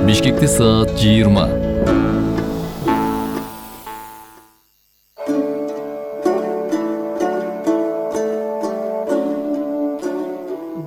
Бишкекте саат 20.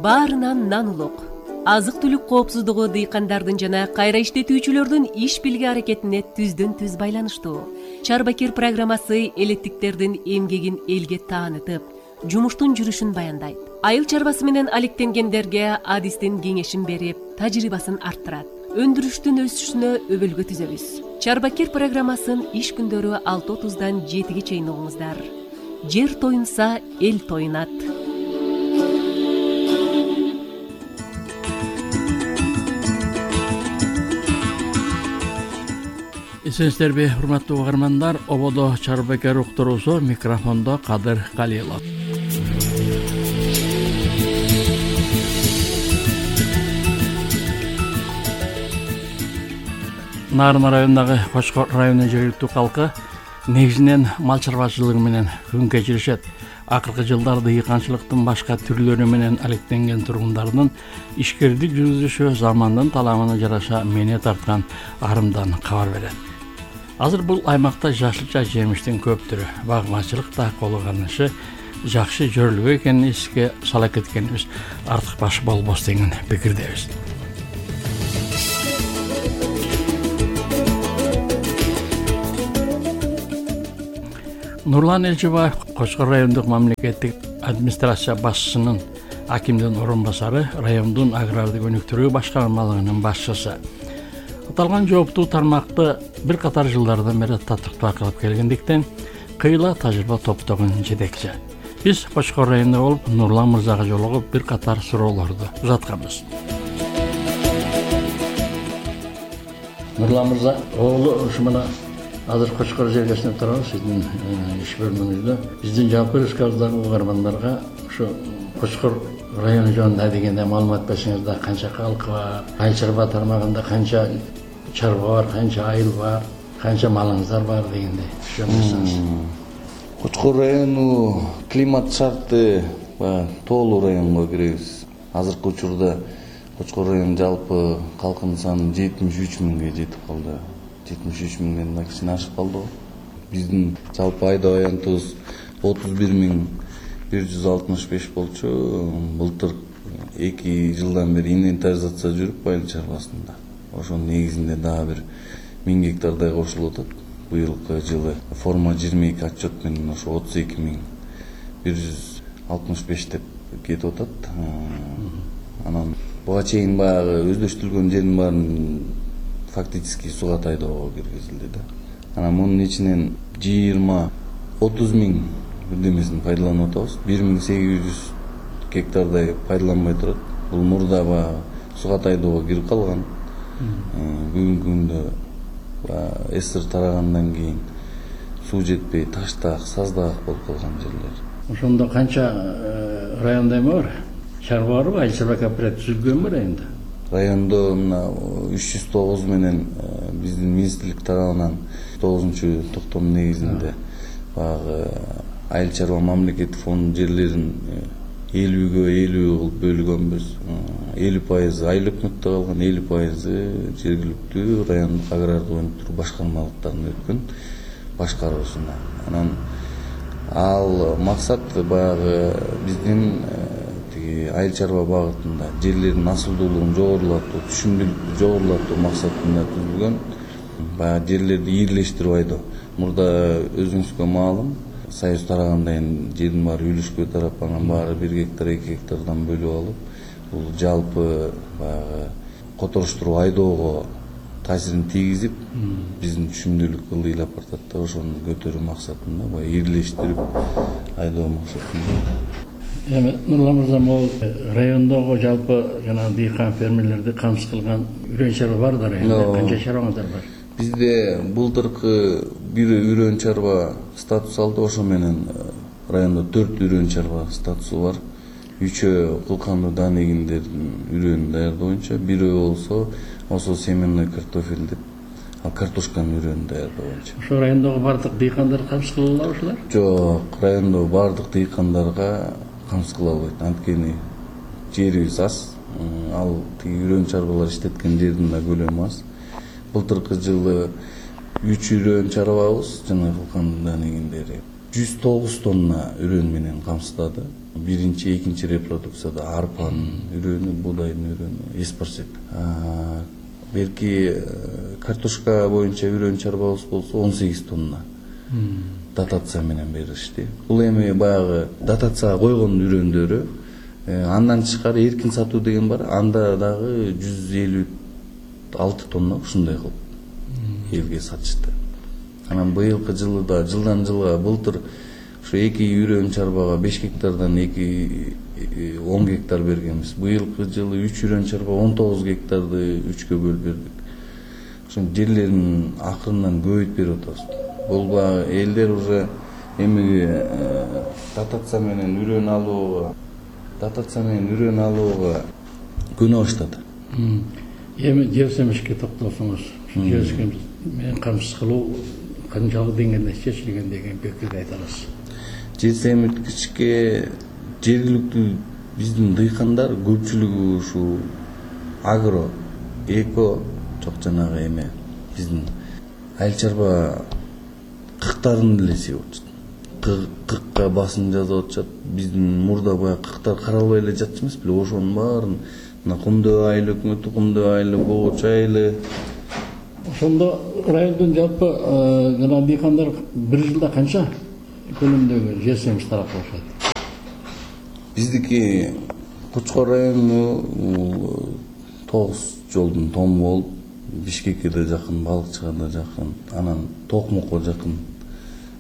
Баарынан нан улук. Азык-түлүк коопсуздугу дыйкандардын жана кайра иштетүүчүлөрдүн иш билги аракетине түздөн түз байланыштуу. Чарбакер программасы элеттиктердин эмгегин элге таанытып, жумуштун жүрүшүн баяндайт. Айыл чарбасы менен алектенгендерге адистин кеңешин берип, тажрыйбасын арттырат. Өндүрүштүн өсүшүнө өбөлгө түзөбүз. Чарбакер программасын иш күндөрү 6:30-дан 7-ге чейин угуңуздар. Жер тоюнса, эл тоюнат. Эсенсиздерби, урматтуу угармандар, ободо Чарбакер уктуруусу, микрофондо Кадыр Калилов. Нарын районундагы Кочкор районунун жергиликтүү калкы негизинен мал чарбачылыгы менен күн кечиришет. Акыркы жылдары дыйканчылыктын башка түрлөрү менен алектенген тургундардын ишкердик жүргүзүшү замандын талабына жараша мэне тарткан арымдан кабар берет. Азыр бул аймакта жашылча жемиштин көп түрү, багмачылык да колу карнышы жакшы жөрүлгө экенин эске сала кеткенибиз артык баш болбос деген пикирдебиз. Нурлан Элчибаев, Кочкор райондук мамлекеттик администрация башчысынын акимдин орун басары, райондун агрардык өнүктүрүү башкармалыгынын башчысы. Аталган жооптуу тармакты бир катар жылдардан бери татыктуу кылып келгендиктен, кыйла тажрыйба топтогон жетекчи. Биз Кочкор районунда болуп, Нурлан мырзага жолугуп бир катар суроолорду узатканбыз. Нурлан мырза, ушу мына азыр Кочкор жергесинде турабыз, сиздин иш бөлмөңүздө. Биздин жалпы республикадагы угармандарга ушу Кочкор району жөнүндө дегенде маалымат берсеңиз, канча калкы бар, айыл чарба тармагында канча чарба бар, канча айыл бар, канча малыңыздар бар дегенде түшүндүрсөңүз. Кочкор району климат шарты тоолуу районго киребиз. Азыркы учурда Кочкор районунун жалпы калкынын саны 73 миңге жетип калды. 73 миңден кичине ашып калды. Биздин жалпы айда аянтыбыз 31.165 болчу. Былтыр 2 жылдан бери инвентаризация жүрүп айыл чарбасында. Ошонун негизинде дагы бир 1000 гектардай кошулуп атат. Быйылкы жылы форма 22 отчет менен ошо 32.165 деп кетип атат. Анан буга чейин баягы өздөштүрүлгөн жердин баарын фактически суга тайдоого киргизилди да. Анан мунун ичинен 20-30 миң бирдемесин пайдаланып атабыз. 1800 гектардай пайдаланбай турат. Бул мурда баягы суга тайдоого кирип калган. Бүгүнкү күндө СССР тарагандан кийин суу жетпей таштаак, саздаак болуп калган жерлер. Ошондо канча районда эме бар? Чарба барбы? Айыл чарба кооператив түзүлгөнбү райондо? Райондо мына 309 менен биздин министрлик тарабынан 9-токтом негизинде баягы айыл чарба мамлекеттик фонд жерлерин 50-ге 50 кылып бөлгөнбүз. 50% айыл өкмөттө калган, 50% жергиликтүү райондук агрардык өнүктүрүү башкармалыктарына өткөн башкаруусуна. Анан ал максат баягы биздин айыл чарба багытында жерлердин асылдуулугун жогорулатуу, түшүмдүүлүктү жогорулатуу максатында түзүлгөн. Баягы жерлерди ийгилештирип айдоо. Мурда өзүңүзгө маалым, Союз тарагандан кийин жердин баары үлүшкө тарап, анан баары 1 гектар, 2 гектардан бөлүп алып, бул жалпы баягы которуштуруп айдоого таасирин тийгизип, биздин түшүмдүүлүккө ылдыйлап бартат да. Ошону көтөрүү максатында баягы ийгилештирип айдоо максатында. Эми Нурлан мырза, могул райондогу жалпы жана дыйкан фермерлерди камсыз кылган үрөн чарба бар да районда? Канча чарбаңыздар бар? Бизде былтыркы бир үрөн чарба статус алды, ошо менен райондо 4 үрөн чарба статусу бар. 3 кылкандуу дан эгиндердин үрөнүн даярдоо боюнча, бирөө болсо осо семенной картофель деп, ал картошканын үрөнүн даярдоо боюнча. Ошо райондогу бардык дыйкандар камсыз кыла алабы ушулар? Жок, райондогу бардык дыйкандарга камсыз кыла албайт. Анткени жерибиз аз. Ал үрөн чарбалар иштеткен жердин да көлөмү аз. былтыркы жылы 3 үрөн чарбабыз жана кылкандан кийиндери 109 тонна үрөн менен камсыздады. Биринчи, экинчи репродукцияда арпанын үрөнү, буудайдын үрөнү, эспарсек. Берки картошка боюнча үрөн чарбабыз болсо 18 тонна дотация менен беришти. Бул эми баягы дотацияга койгон үрөндөрү, андан тышкары эркин сатуу деген бар. Анда дагы 156 тонна ушундай кылып элге сатышты. Анан быйылкы жылы да жылдан жылга былтыр ушу 2 үрөн чарбага 5 гектардан 10 гектар бергенбиз. Быйылкы жылы 3 үрөн чарба 19 гектарды 3кө бөлүп бердик. Ошо жерлерин акырындан көбөйтүп берип атабыз. Бул баягы элдер уже эми дотация менен үрөн алууга көнө баштады. Эми жер семишке токтолсоңуз, жер семиш менен камсыз кылуу канчалык деңгээлде чечилген деген пикирди айта аласыз? Жер семирткичке жергиликтүү биздин дыйкандар көпчүлүгү ушу агро, эко, жок жанагы эме биздин айыл чарба кыктарын эле себип атышат. Кыкка басым жазып атышат. Биздин мурда баягы кыктар каралбай эле жатчу эмес беле, ошонун баарын мына Кумдөө айыл өкмөтү, Кумдөө айылы, Богоч айылы. Ошондо райондун жалпы жана дыйкандар бир жылда канча көлөмдөгү жер семиш тарапташат? Биздики Кучкор району 9 жолдун тому болуп, Бишкекке да жакын, Балыкчыга да жакын, анан Токмокко жакын.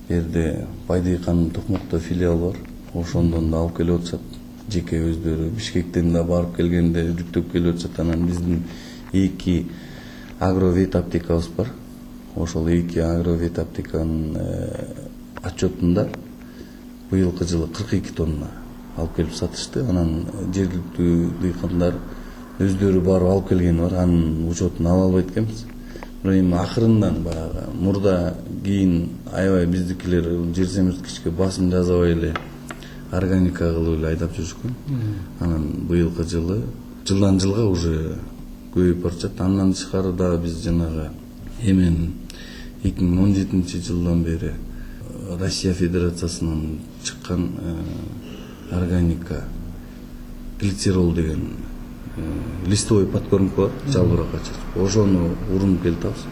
Жерде Байдыйканын Токмокто филиал бар. Ошондон да алып келип атышат. Жеке өздөрү Бишкектен да барып келгенде жүктөп келип атышат. Анан биздин 2 агровет аптекабыз бар. Ошол 2 агровет аптеканын отчетунда быйылкы жылы 42 тонна алып келип сатышты. Анан жергиликтүү дыйкандар өздөрү барып алып келгени бар. Анын учетун ала албайт экенбиз. Бирок эми акырындан баягы мурда кийин аябай биздикилер жер семирткичке басым жасабай эле органика кылып эле айдап жүрүшкөн. Анан быйылкы жылы жылдан жылга уже көбөйүп баратат. Андан тышкары дагы биз жанагы эмен 2017 жылдан бери Россия Федерациясынан чыккан органика глицерол деген листовой подкормка бар, жалбыракка чачып. Ошону урунуп келатабыз.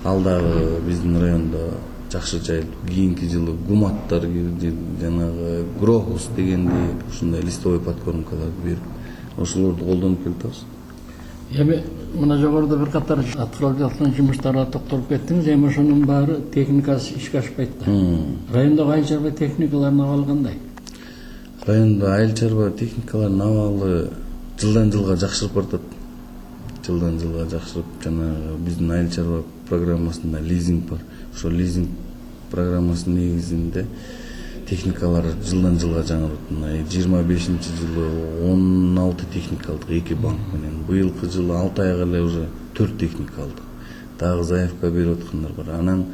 Ал дагы биздин райондо жакшы жайылып, кийинки жылы гуматтар кирди, жанагы грохус дегендей ушундай листовой подкормкаларды берип, ошолорду колдонуп келатабыз. Эми мына жогоруда бир катар аткарылып жаткан жумуштарга токтолуп кеттиңиз, эми ошонун баары техникасы ишке ашпайт да. Райондогу айыл чарба техникаларынын абалы кандай? Райондо айыл чарба техникаларынын абалы жылдан жылга жакшырып баратат. Жылдан жылга жакшырып, жанагы биздин айыл чарба программасында лизинг бар. Ошол лизинг программасынын негизинде техникалар жылдан жылга жаңырат. 25-жылы 16 техника алдык 2 банк менен. Быйылкы жылы 6 айга эле уже 4 техника алдык. Дагы заявка берип аткандар бар. Анан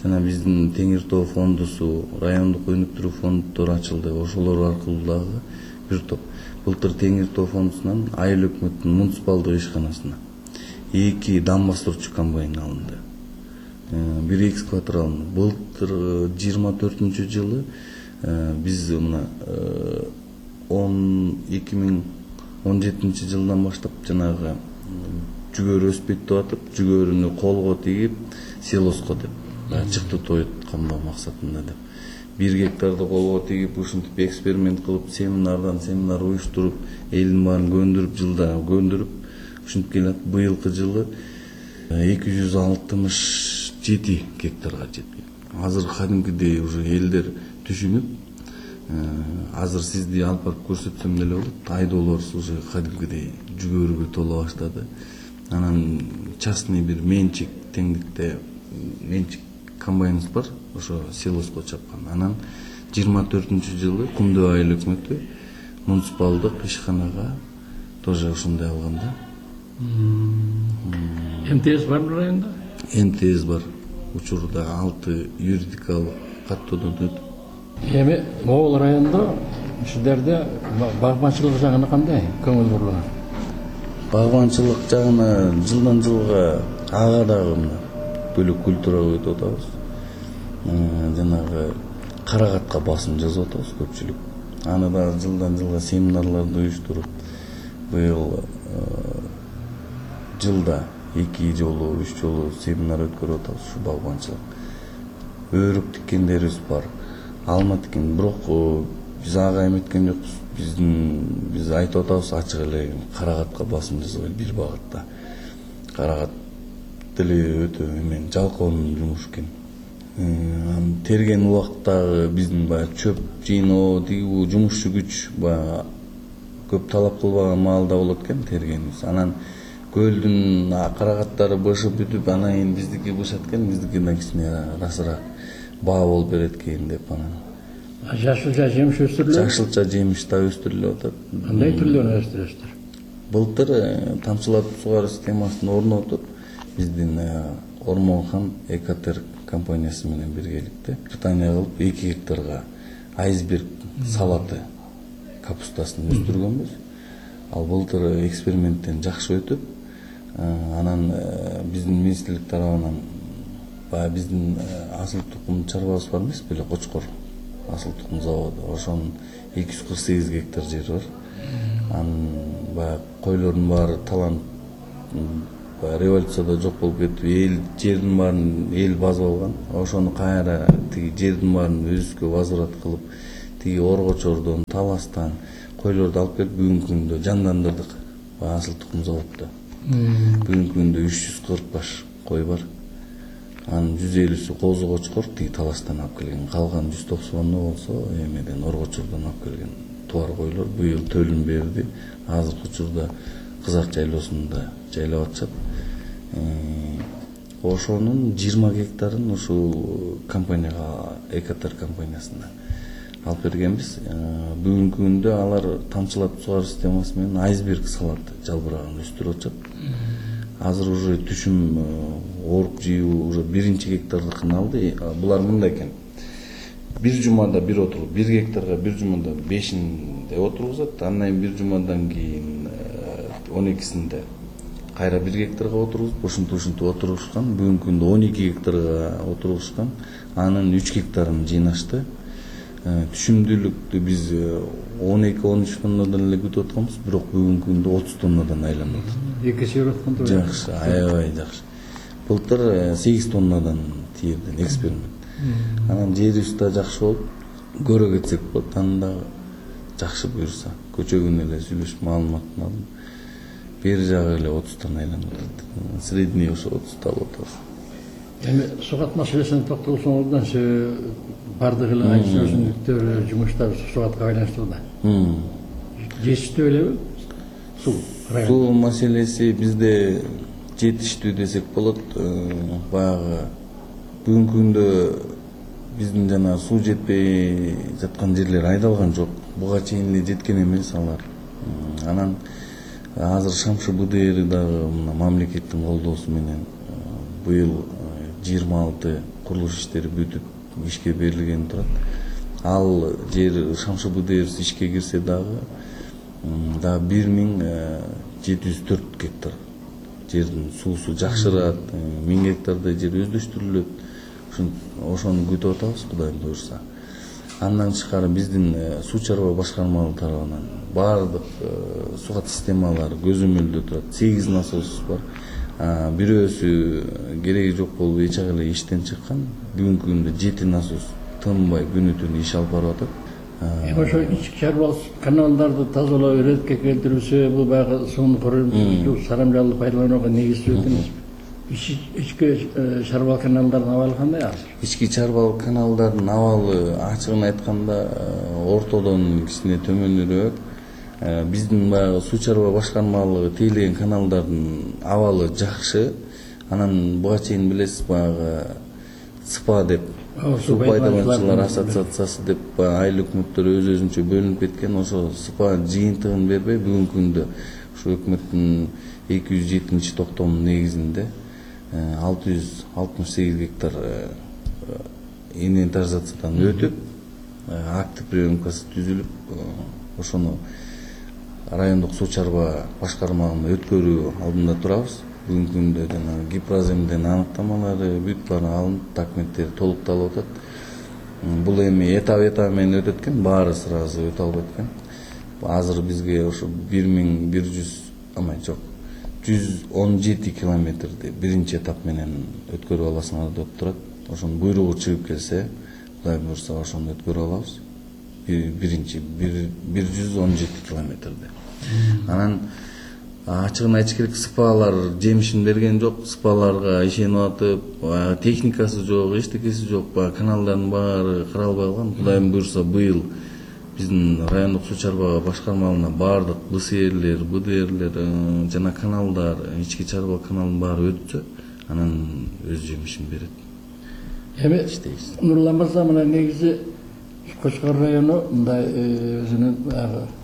жана биздин Теңир Тоо фондусу, райондук өнүктүрүү фонддору ачылды. Ошолор аркылуу дагы бир топ. Былтыр Теңир Тоо фондусунан айыл өкмөттүн муниципалдык ишканасына 2 дам бастырчу комбайн алынды. 1 экскаватор алынды. Былтыр 24-жылы биз мына 2017 жылдан баштап жанагы жүгөрү өспөйт деп атып, жүгөрүнү колго тигип, силоско деп чыкты тоет камдоо максатында деп. 1 гектарды колго тигип, ушинтип эксперимент кылып, семинар уюштуруп, элдин баарын көндүрүп, жылда көндүрүп, ушинтип келет. Быйылкы жылы 267 гектарга жеткен. Азыр кадимкидей уже элдер түшүнүп, азыр сизди алып барып көрсөтсөм деле болот. Айдоолорубуз уже кадимкидей жүгөрүгө толо баштады. Анан частный бир менчик теңдикте менчик комбайныбыз бар, ошо силоско чапкан. Анан 24-жылы Кумдөө айыл өкмөтү муниципалдык ишканага тоже ушундай алганда. МТС барбы районда? МТС бар. Учурда 6 юридикалык каттоодон өтүп. Эми могул райондо сиздерде багбанчылык жагына кандай көңүл бурулат? Багбанчылык жагына жылдан жылга ага дагы мына бөлөк культурага өтүп атабыз. Жанагы карагатка басым жасап атабыз көпчүлүк. Аны дагы жылдан жылга семинарларды уюштуруп, быйыл жылда 2 жолу 3 жолу семинар өткөрүп атабыз ушу багбанчылык. Өрүк тиккендерибиз бар, алма тиккен, бирок биз ага эметкен жокпуз. Биз айтып атабыз ачык эле карагатка басым жасабай бир багытта. Карагат деле өтө эмен жалкоонун жумушу экен. Терген убакыттагы биздин баягы чөп жыйноо, тигүү жумушчу күч баягы көп талап кылбаган маалда болот экен тергенибиз. Анан көлдүн карагаттары бышып бүтүп, анан кийин биздики бышат экен, биздикинден кичине расыраак баа болуп берет экен деп анан. Жашылча жемиш өстүрүлөт? Жашылча жемиш да өстүрүлүп атат. Кандай түрлөрүн өстүрөсүздөр? Былтыр тамчылатып сугаруу системасын орнотуп, биздин Ормонхан Экотер компаниясы менен биргеликте Британия кылып 2 гектарга айсберг салаты капустасын өстүргөнбүз. Ал былтыр эксперименттен жакшы өтүп, анан биздин министрлик тарабынан баягы биздин асыл тукум чарбабыз бар эмес беле, Кочкор асыл тукум заводу, ошонун 248 гектар жери бар. Анын баягы койлордун баары талант революцияда жок болуп кетип, эл жердин баарын эл базып алган. Ошону кайра тиги жердин баарын өзүбүзгө возврат кылып, тиги Оргочордон, Таластан койлорду алып келип бүгүнкү күндө жандандырдык асыл тукум заводдо. Бүгүнкү күндө 340 баш кой бар. Анын 150сү Козу Кочкор, тиги Таластан алып келген. Калган 190 болсо эмеден Оргочордон алып келген туар койлор быйыл төлүн берди. Азыркы учурда Кызак жайлоосунда жайлап атышат. Ошонун 20 гектарын ушул компанияга, Экотер компаниясына алып бергенбиз. Бүгүнкү күндө алар тамчылатып сугаруу системасы менен айсберг салаты жалбырагын өстүрүп атышат. Азыр уже түшүм оруп жыйуу уже 1 гектардыкын алды. Булар мындай экен. Бир жумада бир отуруп, 1 гектарга бир жумада 5-inde отургузат. Андан кийин бир жумадан кийин 12-синде кайра 1 гектарга отургузуп, ушинтип отурушкан. Бүгүнкү күндө 12 гектарга отургузган. Анын 3 гектарын жыйнашты. Түшүмдүүлүктү биз 12-13 тоннадан эле күтүп атканбыз, бирок бүгүнкү күндө 30 тоннадан айланып атат. Экиси өткөн турат. Жакшы, аябай жакшы. Былтыр 8 тоннадан тийирден эксперимент. Анан жерибиз да жакшы болуп, көрө кетсек болот. Анда жакшы буюрса, көчөгүн эле сүйлөшүп маалыматын алдым. Бери жагы эле 30 айланып атат. Средний ошо 30 болуп атат. Эми сугат маселесине токтолсоңуздан бардык эле айыл өсүмдүктөр жумуштар сугатка байланыштуу да. Жетиштүү элеби? Суу маселеси бизде жетиштүү десек болот. Баягы бүгүнкү күндө биздин жана суу жетпей жаткан жерлер айдалган жок. Буга чейин эле жеткен эмес алар. Анан азыр Шамшы БДР дагы мына мамлекеттин колдоосу менен быйыл 26 курулуш иштери бүтүп ишке берилген турат. Ал жер Шамшы БДР ишке кирсе дагы 1704 гектар жердин суусу жакшырат, 1000 гектардай жер өздөштүрүлөт. Ошону күтүп атабыз, Кудайым буйрса. Андан тышкары биздин суу чарба башкармалыгы тарабынан баардык сугат системалары көзөмөлдө турат. 8 насос бар. Бирөөсү кереги жок болуп эчак эле иштен чыккан. Бүгүнкү күндө 7 насос тынбай күнү-түнү иш алып барып атат. Ошо ички чарбалык каналдарды тазалап эретке келтирүүсү, бул баягы сууну корунуп, сарамжалды пайдаланууга негиздүү эмес. Ички чарбалык каналдардын абалы кандай азыр? Ички чарбалык каналдардын абалы ачыгын айтканда ортодон кичине төмөнүрөөк. Биздин баягы суу чарба башкармалыгы тейлеген каналдардын абалы жакшы. Анан буга чейин билесиз, баягы СПА деп, суу пайдалануучулар ассоциациясы деп айыл өкмөттөр өз-өзүнчө бөлүнүп кеткен. Ошо СПА жыйынтыгын бербей бүгүнкү күндө ушу өкмөттүн 207 токтомунун негизинде 668 гектар инвентаризациядан өтүп, актив приемкасы түзүлүп, ошону райондук суу чарба башкармалыгына өткөрүү алдында турабыз. бүгүнкү күндө жанагы гипроземден аныктамалары бүт баары алынып, документтери толукталып атат. Бул эми этап менен өтөт экен, баары сразу өтө албайт экен. Азыр бизге ошо 117 километрди биринчи этап менен өткөрүп аласыңар деп турат. Ошонун буйругу чыгып келсе, Кудай буйрса ошону өткөрүп алабыз. Биринчи 117 километрди. Анан ачыгын айтыш керек, СПАлар жемишин берген жок. СПАларга ишенип атып, техникасы жок, эчтекеси жок, каналдардын баары каралбай калган. Кудай буйрса быйыл биздин райондук суу чарба башкармалыгына баардык БСРлер, БДРлер жана каналдар, ички чарба каналдын баары өтсө, анан өз жемишин берет. Эми Нурлан мырза, мына негизи Кочкор району мындай өзүнүн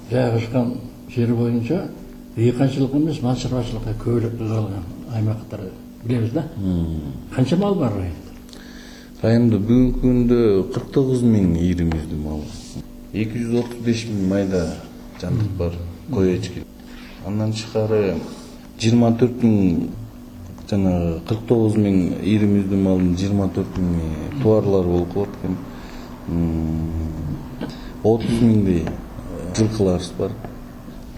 жайгашкан жери боюнча дыйканчылык эмес, мал чарбачылыкка көбүрөөк калган аймактар билебиз да. Канча мал бар районда? Районда бүгүнкү күндө 49.000 ийримиздүү мал. 235.000 майда жандык бар, кой эчки. Андан тышкары 24.000 жана 49.000 ийримиздүү малдын 24.000 товарлар болуп калат экен. 30.000 жылкыларыбыз бар.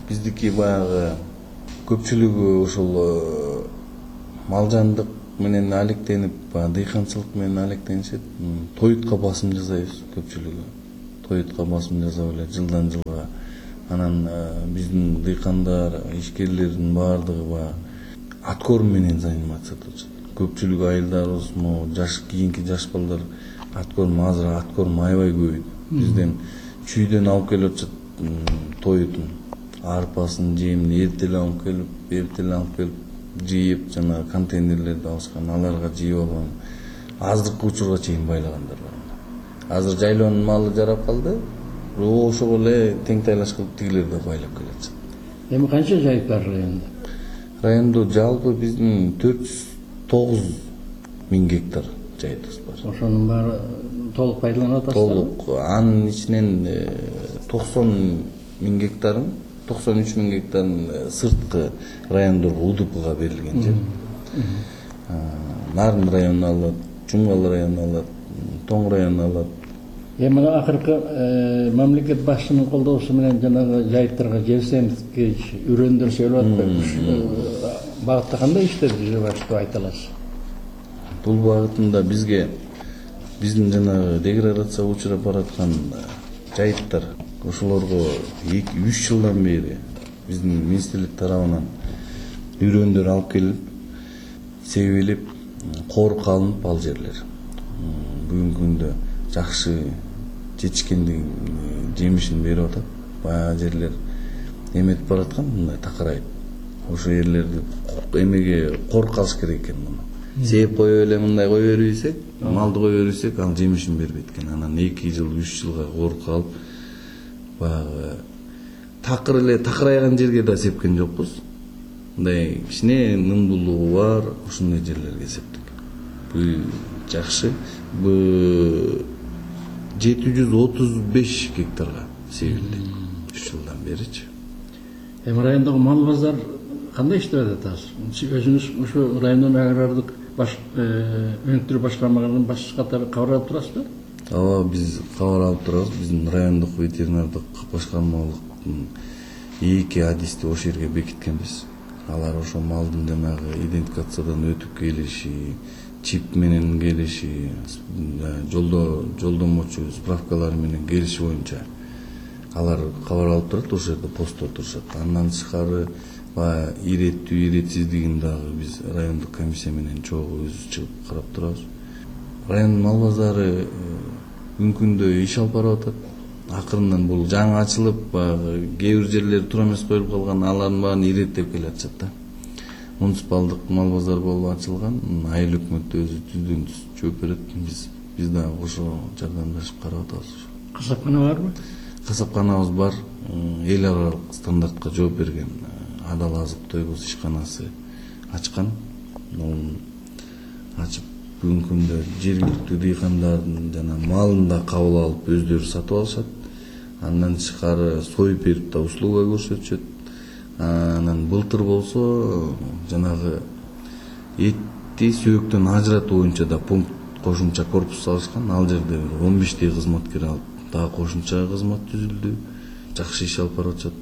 Биздики баягы көпчүлүгү ошол малжандык менен алектенип, дыйканчылык менен алектенишет. Тоютка басым жасайбыз көпчүлүгү. Тоютка басым жасап эле жылдан жылга. Анан биздин дыйкандар, ишкерлердин баардыгы аткорм менен занимация кылышат. Көпчүлүгү айылдарыбыз, кийинки жаш балдар азыр аткорм аябай көбөйдү. Бизден чүйдөн алып келип атышат тоютун. Арпасын, жемин эртеле алып келип жыйып, жана контейнерлерди алышкан, аларга жыйып алган. Азыркы учурга чейин байлагандар бар. Азыр жайлоонун малы жарап калды. Ошого эле тең тайлаш кылып тигилер да байлап келет. Эми канча жайык бар районда? Райондо жалпы биздин 409.000 гектар жайыбыз бар. Ошонун баары толук пайдаланып атасызбы? Толук. Анын ичинен 90.000 гектарын, 93.000 гектарын сырткы райондорго УДПга берилген жер. Нарын районуна алат, Жумгал районуна алат, Тоң районуна алат. Эми мына акыркы мамлекет башчынын колдоосу менен жанагы жайыктарга жер семткич үрөндөр сөйлөп атпайбы? Багытта кандай иштер жүрүп атышты айта аласыз? Бул багытында бизге биздин жанагы деградацияга учурап бараткан жайыттар, ошолорго 2-3 жылдан бери биздин министрлик тарабынан үрөндөр алып келип, себелип, корукка алынып ал жерлер. Бүгүнкү күндө жакшы жетишкендигин жемишин берип атат. Баягы жерлер эметип бараткан, мындай такырайып. Ошо жерлерди эмеге корукка алыш керек экен муну. Сеп коюп эле мындай кое бербесек, малды кое бербесек, ал жемишин бербейт экен. Анан 2 жыл, 3 жылга корукка алып, баягы такырайган жерге да сепкен жокпуз. Мындай кичине нымдуулугу бар, ошондой жерлерге септик. Бул жакшы. Бул 735 гектарга себилди 3 жылдан беричи. Эми райондогу мал базар кандай иштеп атат азыр? Өзүңүз ушу райондун агрардык өнүктүрүү башкармалыгынын башчысы катары кабар алып турасызбы? Ооба, биз кабар алып турабыз. Биздин райондук ветеринардык башкармалыктын 2 адисти ошол жерге бекиткенбиз. Алар ошо малдын жанагы идентификациядан өтүп келиши, чип менен келиши, жолдомочу справкалар менен келиши боюнча алар кабар алып турат, ошол жерде постто турушат. Андан тышкары иреттүү, иретсиздигин дагы биз райондук комиссия менен чогуу өзүбүз чыгып карап турабыз. Райондун мал базары бүгүнкү күндө иш алып барып атат. Акырындан бул жаңы ачылып, кээ бир жерлери туура эмес коюлуп калган, алардын баарын иреттеп келатышат да. Муниципалдык мал базар болуп ачылган, айыл өкмөт өзү түздөн түз жооп берет. Биз дагы ошо жардамдашып карап атабыз. Касапкана барбы? Касапканабыз бар. Эл аралык стандартка жооп берген Адал азык тойгоз ишканасы ачкан. Ачып бүгүнкү күндө жергиликтүү дыйкандардын жана малын да кабыл алып өздөрү сатып алышат. Андан тышкары союп берип да услуга көрсөтүшөт. Анан былтыр болсо жанагы Этти сөөктөн ажыратуу боюнча да пункт кошумча корпус салышкан. Ал жерде 15 кызматкер алып, дагы кошумча кызмат түзүлдү. Жакшы иш алып баратышат.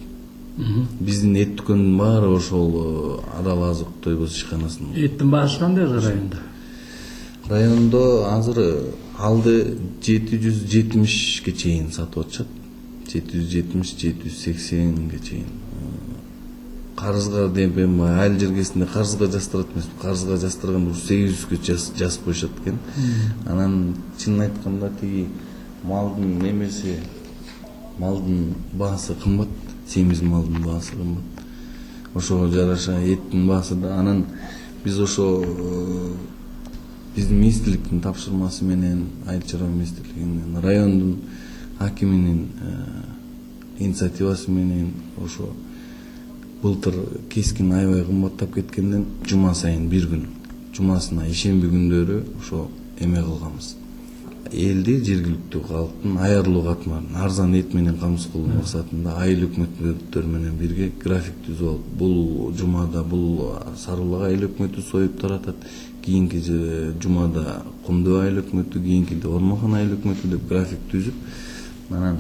Биздин эт дүкөнүнүн баары ошол Адал азык тойгоз ишканасынын. Эттин баасы кандай районда? Райондо азыр алды 770ге чейин сатып атышат. 770-780ге чейин. Карызга деп айыл жергесинде карызга жастырат эмес. Карызга жастырганда 800гө жазып коюшат экен. Анан чынын айтканда тиги малдын немеси, малдын баасы кымбат, семиз малдын баасы кымбат. Ошого жараша эттин баасы да. Анан биз ошо биздин министрликтин тапшырмасы менен, айыл чарба министрлигинин, райондун акиминин инициативасы менен ошо былтыр кескин аябай кымбаттап кеткенден жума сайын бир күн, жумасына ишемби күндөрү ошо эме кылганбыз. Элди, жергиликтүү калктын аярлуу катмарын арзан эт менен камсыз кылуу максатында айыл өкмөттөр менен бирге график түзүп алып, бул жумада бул Сарыбулак айыл өкмөтү союп таратат, кийинки жумада Кумдуу айыл өкмөтү, кийинкиде Ормохан айыл өкмөтү деп график түзүп, анан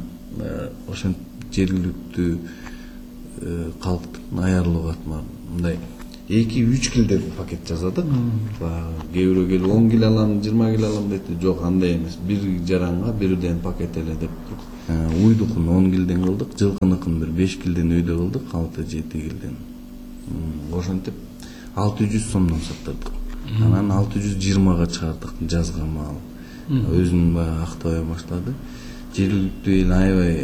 ошентип жергиликтүү калктын аярлуу катмарын мындай 2-3 килден пакет жасадык. Кээ бирөө келип 10 кил алам, 20 кил алам деди. Жок, андай эмес. Бир жаранга бирден пакет эле деп. Уйдукун 10 килден кылдык, жылкыныкын бир 5 килден өйдө кылдык, 6-7 килден. Ошентип 600 сомдон саттырдык. Анан 620га чыгардык жазга мал. Өзүн актабай баштады. Жергиликтүү эл аябай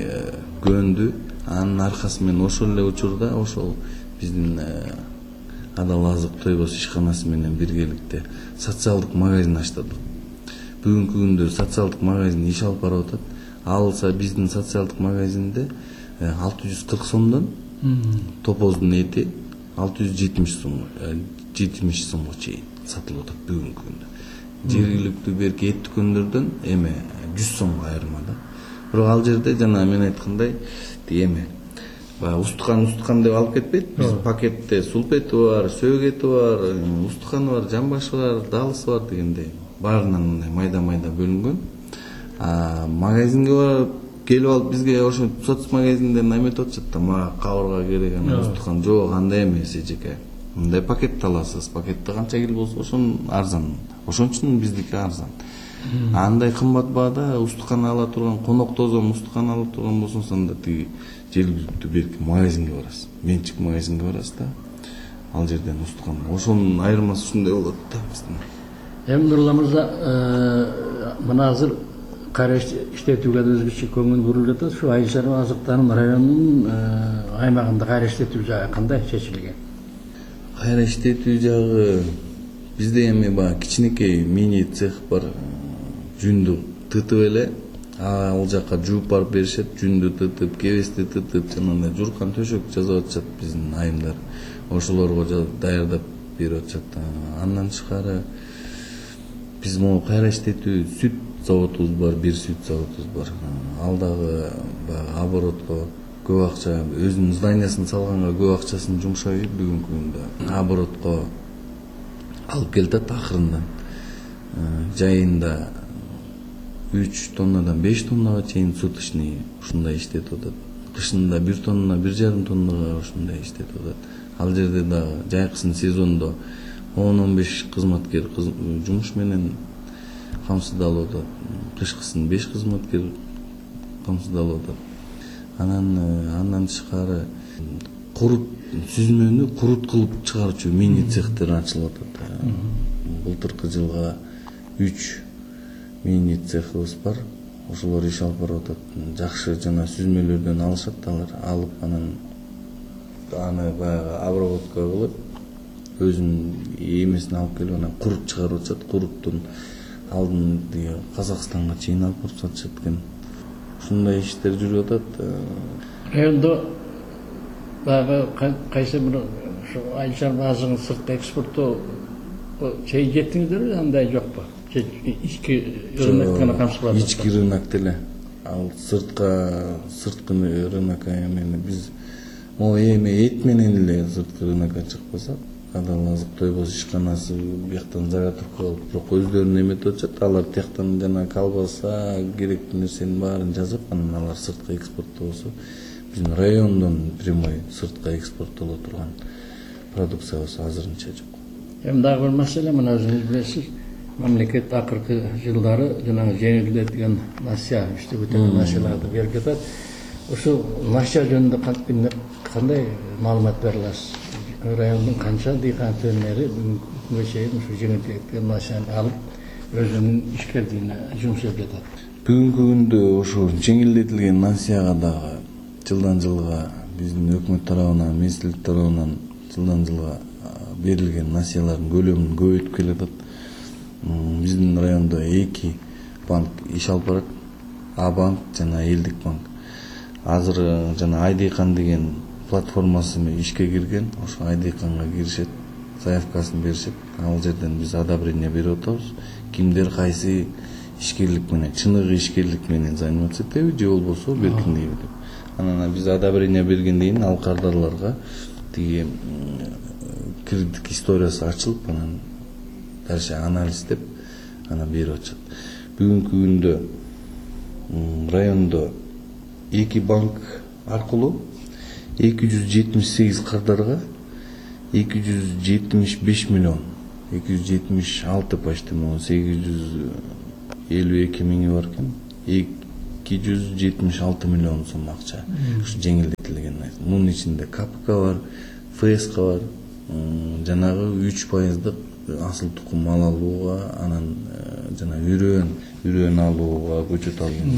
көндү. Анын аркасы менен ошол эле учурда ошол биздин Адал азык тойгоз ишканасы менен биргеликте социалдык магазин ачтырдык. Бүгүнкү күндө социалдык магазин иш алып барып атат. Алса биздин социалдык магазинде 640 сомдон топоздун эти 670 сомго чейин сатылып атат бүгүнкү күндө. Жергиликтүү берки эт дүкөндөрдөн эме 100 сомго айырмада. Бирок ал жерде жана мен айткандай эме устукан деп алып кетпейт. Биз пакетте сулп эти бар, сөөк эти бар, устуканы бар, жамбашы бар, далысы бар дегендей. Баарынан мындай майда-майда бөлүнгөн. Магазинге барып келип алып бизге ошо соцмагазинден эметип атышат да, мага кабырга керек, устукан жок, андай эмес эжеке. Мындай пакетти аласыз. Пакетте канча кил болсо ошон арзан. Ошон үчүн биздики арзан. Андай кымбат баада устукан ала турган, конок тозом устукан ала турган болсоңуз анда тиги жергиликтүү берки магазинге барасыз. Менчик магазинге барасыз да. Ал жерден устукан. Ошонун айырмасы ушундай болот да биздин. Эми Нурлан мырза, мына азыр кайра иштетүүгө да өзгөчө көңүл бурулуп жатат. Ушу айыл чарба азыктарын районунун аймагында кайра иштетүү жагы кандай чечилген? Кайра иштетүү жагы бизде эми кичинекей мини цех бар. Жүндү тытып эле ал жака жууп барып беришет, жүндү тытып, кебести тытып, жанагындай журкан төшөк жасап атышат биздин айымдар. Ошолорго даярдап берип атышат. Андан тышкары биз могу кайра иштетүү сүт заводубуз бар, бир сүт заводубуз бар. Ал дагы оборотко көп акча, өзүнүн зданиясын салганга көп акчасын жумшайт бүгүнкү күндө. Оборотко алып келет акырында. Жайында 3 тоннадан 5 тоннага чейин суточный ушундай иштетип атат. Кышында 1 тонна, 1,5 тоннага ушундай иштетип атат. Ал жерде дагы жайкысын сезондо 10-15 кызматкер жумуш менен камсыздалып атат. Кышкысын 5 кызматкер камсыздалып атат. Андан тышкары сүзмөнү курут кылып чыгаруучу мини цехтер ачылып атат. Былтыркы жылга 3 мини цехыбыз бар. Ошолор иш алып барып атат. Жакшы жана сүзмөлөрдөн алышат алар. Алып аны обработка кылып, өзүнүн эмесин алып келип анан курут чыгарып атышат. Куруттун алдын Казакстанга чейин алып барып сатышат экен. Ушундай иштер жүрүп атат. Райондо кайсы бир ушу айыл чарба азыгын сыртка экспорттоо чейин жеттиңиздерби, андай жокпу? Ички рынок гана камсыз кылат. Ички рынок деле. Ал сырткы рынокко эми биз эми эт менен эле сырткы рынокко чыкпасак, башка да азык тойбос ишканасы бияктан заработка алып, бирок өздөрүн эметип атышат. Алар тияктан жана колбаса, керектүү нерсенин баарын жазып, анан алар сыртка экспорттолсо, биздин райондон прямой сыртка экспорттоло турган продукциябыз азырынча жок. Эми дагы бир маселе, мына өзүңүз билесиз, мамлекет акыркы жылдары жанагы жеңилдетилген насыя, иштеп өтөлгөн насыяларды берип жатат. Ушул насыя жөнүндө кандай маалымат бере аласыз? Райондун канча дыйкан фермери бүгүнкү чейин ушу жеңилдетилген насыяны алып өзүнүн ишкерлигине жумуш жасап жатат? Бүгүнкү күндө ушу жеңилдетилген насыяга дагы жылдан жылга биздин өкмөт тарабынан, министрлик тарабынан жылдан жылга берилген насыялардын көлөмүн көбөйтүп келатат. Биздин райондо 2 банк иш алып барат. А банк жана Элдик банк. Азыр жана Айдыйкан деген платформасы ишке кирген. Ошо Айдыйканга киришет, заявкасын беришет. Ал жерден биз одобрение берип атабыз. Кимдер кайсы ишкерлик менен, чыныгы ишкерлик менен заниматься этеби, же болбосо беркиндейби деп. Анан биз одобрение бергенден кийин ал кардарларга тиги кредит историясы ачылып, анан дальше анализдеп, анан берип атышат. Бүгүнкү күндө райондо 2 банк аркылуу 278 кардарга 275 миллион, 276 почти 852 миңи бар экен. 276 миллион сом акча ушу жеңилдетилген. Мунун ичинде КПК бар, ФСК бар, жанагы 3% асыл тукум мал алууга, анан жана үрөн алууга, көчөт алууга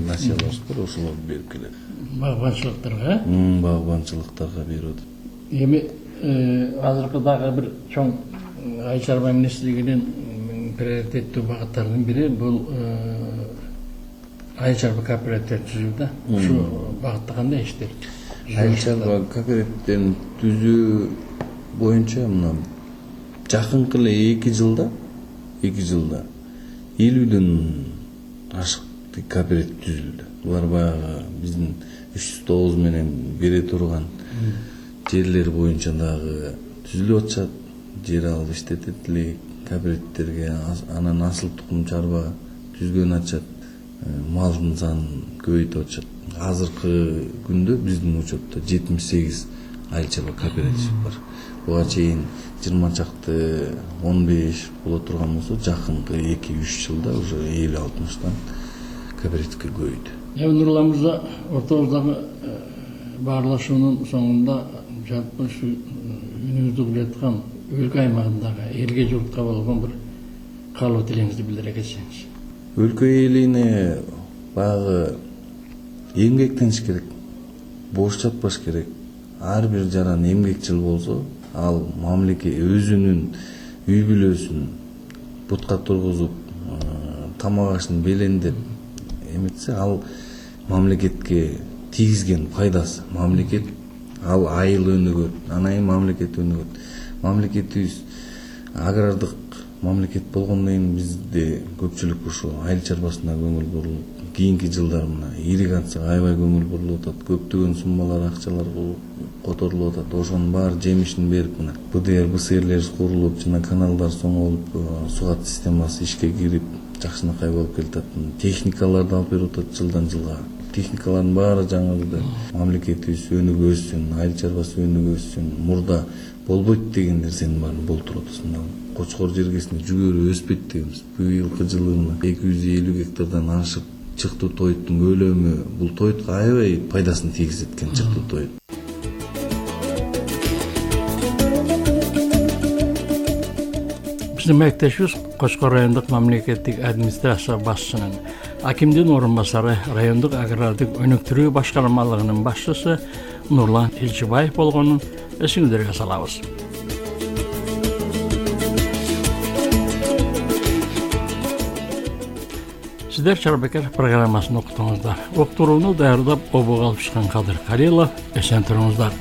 насыялар бар, ошолорду берип келет. Багбанчылыктарга? Багбанчылыктарга берип атат. Эми азыркы дагы бир чоң Айыл чарба министрлигинин приоритеттүү багыттарынын бири бул айыл чарба кооперативдерин түзүү да. Ушу багытта кандай иштер? Айыл чарба кооперативдерин түзүү боюнча мына жакынкы эле 2 жылда 50ден ашык кооператив түзүлдү. Булар баягы биздин 309 менен бере турган жерлер боюнча дагы түзүлүп атышат. Жер алып иштетет элек кооперативтерге, анан асыл тукум чарба түзгөн атышат. Малдын санын көбөйтүп атышат. Азыркы күндө биздин учетто 78 айыл чарба кооператив бар. Буга чейин 20 чакты 15 боло турган болсо, жакынкы 2-3 жылда уже 50-60тан кооперативге көбөйдү. Нурлан мырза, ортобуздагы баарлашуунун соңунда жалпы ушу үнүбүздү кылаткан өлкө аймагындагы элге журтка болгон бир каалоо тилеңизди билдире кетсеңиз. Өлкө элине баягы эмгектениш керек, бош жатпаш керек. Ар бир жаран эмгекчил болсо, ал мамлекет өзүнүн үй бүлөсүн бутка тургузуп, тамак ашын белендеп эметсе, ал мамлекетке тийгизген пайдасы. Мамлекет ал айыл өнүгөт, анан мамлекет өнүгөт. Мамлекетибиз агрардык мамлекет болгондон кийин бизде көпчүлүк ушу айыл чарбасына көңүл бурулуп, кийинки жылдар мына ирригацияга аябай көңүл бурулуп атат. Көптөгөн суммалар, акчалар которулуп атат. Ошонун баары жемишин берип, мына БДР, БСРлер курулуп, жана каналдар соңолуп, сугат системасы ишке кирип, жакшынакай болуп келатат. Техникаларды алып берип атат жылдан жылга. Техникалардын баары жаңырды. Мамлекетибиз өнүгүп өссүн, айыл чарбасы өнүгүп өссүн. Мурда болбойт деген нерсенин баарын болтуруп атабыз. Кочкор жергесинде жүгөрү өспөйт дегенбиз. Быйылкы жылы 250 гектардан ашып чыктуу тоюттун көлөмү, бул тоютка аябай пайдасын тийгизет экен чыктуу тоют. Биздин мектешибиз Кочкор райондук мамлекеттик администрация башчысынын акимдин орун басары, райондук агрардык өнүктүрүү башкармалыгынын башчысы Нурлан Илчибаев болгонун эсиңиздерге салабыз. Сиздер Чарбекер программасын уктуңуздар. Уктурууну даярдап, обуга алып чыккан Кадыр Карилов. Эсен туруңуздар.